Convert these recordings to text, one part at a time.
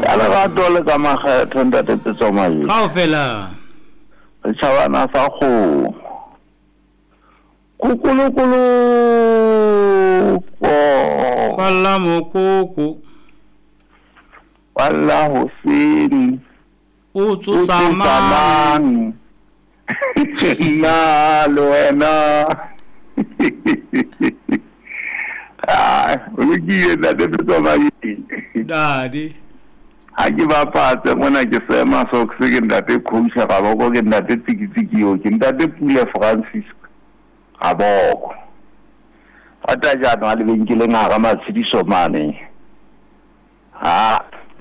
Ka lerato le ka makgetho ntate Petso Mabedi. Kaofela. Re tjhabana sa kgomo. Kukulukulu ko. Kwalla mokoko. Kwalla hoseng. O tsosa mang? Nna le wena. Ah, o lokile ntate Petso Mabedi. Dadi. Ha ke bapatse mona ke sema socks ke ntate Coach Raboko ke ntate Tsikitsiki eo ke ntate Pule Francis Raboko. Rata jaanong a lebenkeleng hara matshediso mane. Ha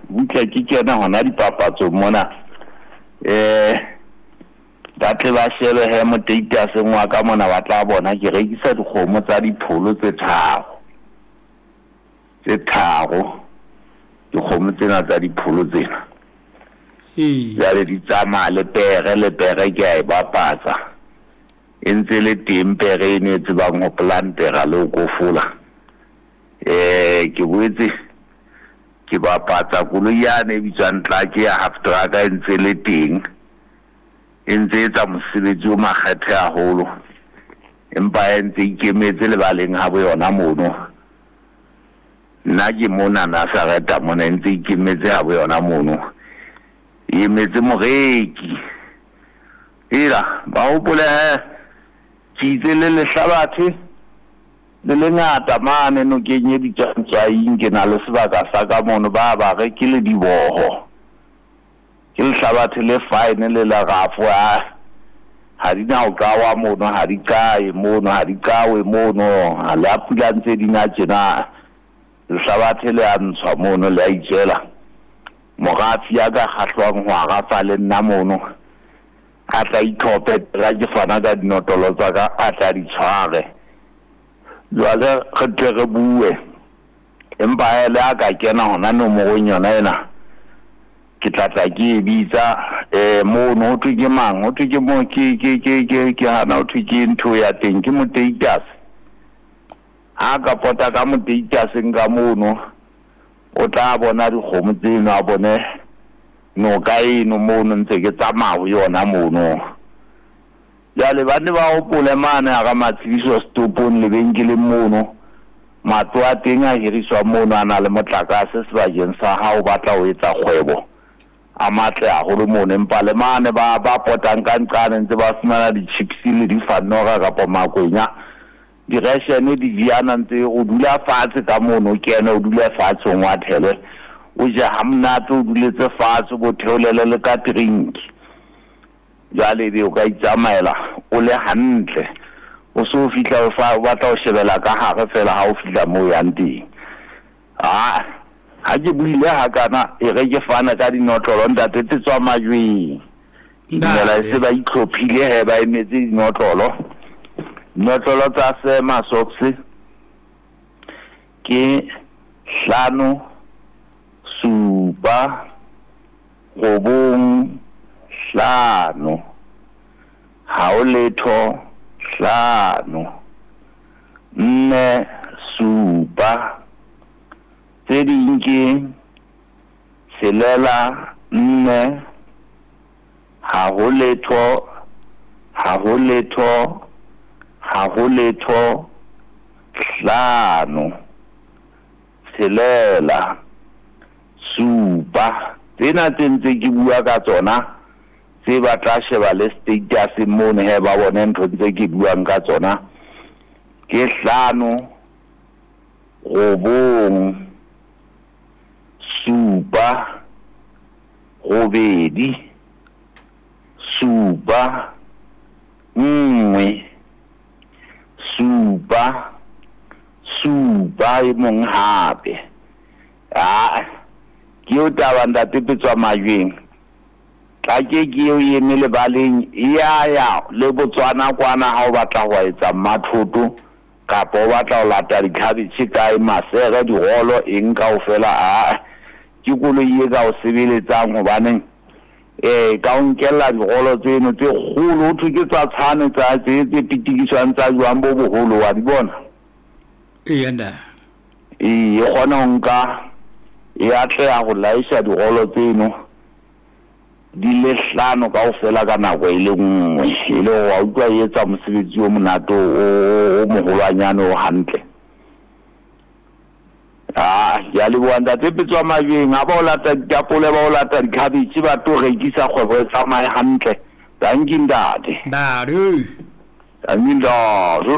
butle ke kena hona dipapatsong mona. Ba tle ba shebe he moteitaseng wa ka mona ba tla bona ke rekisa dikgomo tsa dipholo tse tharo. Tse tharo dikgomo tsena tsa dipholo tsena. Jwale di tsamaya le pere le pere ke a e bapatsa. E ntse le teng pere eno e tsebang ho plantera le ho kofola. Ke boetse ke bapatsa koloi yane e bitswang tlatse ya half truck e ntse le teng. E ntse etsa mosebetsi o makgethe haholo. Empa e ntse ikemetse lebaleng ha bo yona mono. Nna ke mona Nazareta mona e ntse ikemetse ha bo yona mono. E emetse moreki. Ela ba hopole he ke itse le lehlabathe le lengata mane nokeng e bitswang Tswaing ke na le sebaka sa ka mono ba ba re ke le diboho. Ke lehlabathe le fine le lerafo a ha di na ho qawa mono ha di qae mono ha di qawe mono ha le a pula ntse di na tjena lehlabathe le a ntshwa mono le a itswela. Morafi ya ka kgahlwang ho arafa le nna mono a tla itlhophe ra ke fana ka dinotolo tsa ka a tla di tshware. Jwale re tle re bue empa le a ka kena hona nomorong yona ena ke tla tla ke e bitsa mono ho thwe ke mang ho thwe ke mo ke ke ke ke ke hana ho thwe ke ntho ya teng ke moteitas. Ha ka pota ka moteitaseng ka mono o tla bona dikgomo tseno a bone noka eno mono ntse ke tsamaya ho yona mono. Jwale ba ne ba hopole mane hara matshediso setopong lebenkeleng mono. Matlo a teng a hiriswa mono a na le motlakase sebakeng sa ha o batla ho etsa kgwebo. A matle haholo mono empa le mane ba potang ka nqane ntse ba fumana di-chips le difanora kapa makwenya. Direshene di diana ntse o dula fatshe ka mono o kene o dule fatshe o ngwathele. O je ha monate o duletse fatshe bo theolele le ka drink. Jwale ebe o ka itsamaela o le hantle. O so fihla o fa o batla ho shebela ka hare fela ha o fihla moo yang teng. Ah, ha ke buile hakana e re ke fana ka dinotlolo ntate tse tswa majweng. Dumela e se ba itlhophile he ba emetse dinotlolo. Dinotlolo tsa sema socks ke 5 7 9 5 ha o letho 5 4 7 tse ding ke 6 4 ha ho letho ha ho letho ha ho letho 5 6 7. Tsena tse ntse ke bua ka tsona tse ba tla sheba le status mono he ba bone ntho tse ke buang ka tsona ke 5 9 7 8 7 1 7 7 e mong hape. Ah, ke eo taba ntate Petswa Majweng. Tla ke eo e eme lebaleng ya ya le Botswana kwana ha o batla ho etsa mathoto kapa o batla ho lata dikhabetjhe kae masere dirolo eng kaofela. A ke koloi e ka o sebeletsang hobaneng ka o nkella dirolo tseno tse kgolo ho thwe ke tsa tshane tsa tse pitikiswang tsa jwang bo boholo wa di bona. Ee nda. E kgona ho nka E atleha ho laesha dirolo tseno di le hlano kaofela ka nako e le nngwe, e le hore wa utlwa e etsa mosebetsi o monate o moholwanyane o hantle. Ah, ke a leboha ntate Petswa Majweng, ha ba o lata ditapole, ba o lata dikhabetjhe, ba tlo rekisa kgwebo e tsamaye hantle. Dankie ntate. Ntate. Dankie ntate.